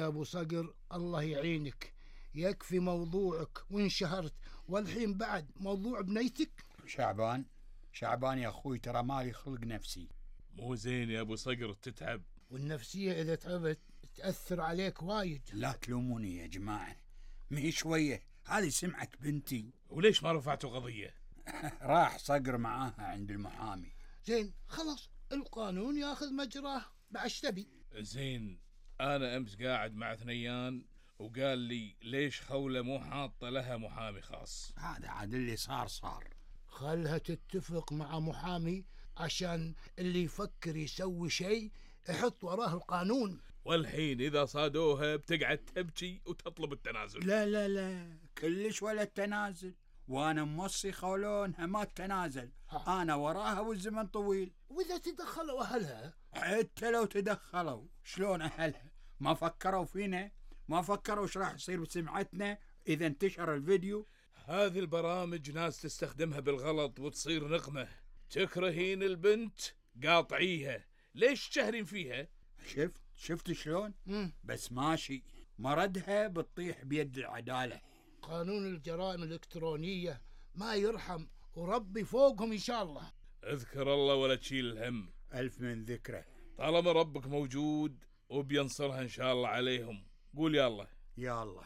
أبو صقر الله يعينك، يكفي موضوعك وانشهرت، والحين بعد موضوع بنيتك. شعبان يا أخوي، ترى مالي خلق نفسي. مو زين يا أبو صقر تتعب، والنفسية إذا تعبت تأثر عليك وايد. لا تلوموني يا جماعة، مي شوية، هذه سمعة بنتي. وليش ما رفعتوا قضية؟ راح صقر معاها عند المحامي. زين خلاص، القانون ياخذ مجراه، بعش تبي. زين، أنا أمس قاعد مع ثنيان وقال لي ليش خولة مو حاطة لها محامي خاص. هذا عاد اللي صار. خلها تتفق مع محامي، عشان اللي يفكر يسوي شيء يحط وراه القانون. والحين إذا صادوها بتقعد تبكي وتطلب التنازل. لا كلش ولا التنازل، وانا موصي خولونها ما التنازل. انا وراها والزمن طويل. واذا تدخلوا اهلها؟ حتى لو تدخلوا، شلون اهلها ما فكروا فينا؟ ما فكروا ايش راح يصير بسمعتنا اذا انتشر الفيديو؟ هذه البرامج ناس تستخدمها بالغلط وتصير نقمة. تكرهين البنت قاطعيها، ليش تشهرين فيها؟ شفت شلون؟ بس ماشي، مردها بتطيح بيد العدالة. قانون الجرائم الإلكترونية ما يرحم، وربي فوقهم إن شاء الله. اذكر الله ولا تشيل الهم. ألف من ذكره. طالما ربك موجود وبينصرها إن شاء الله عليهم. قول يا الله. يا الله.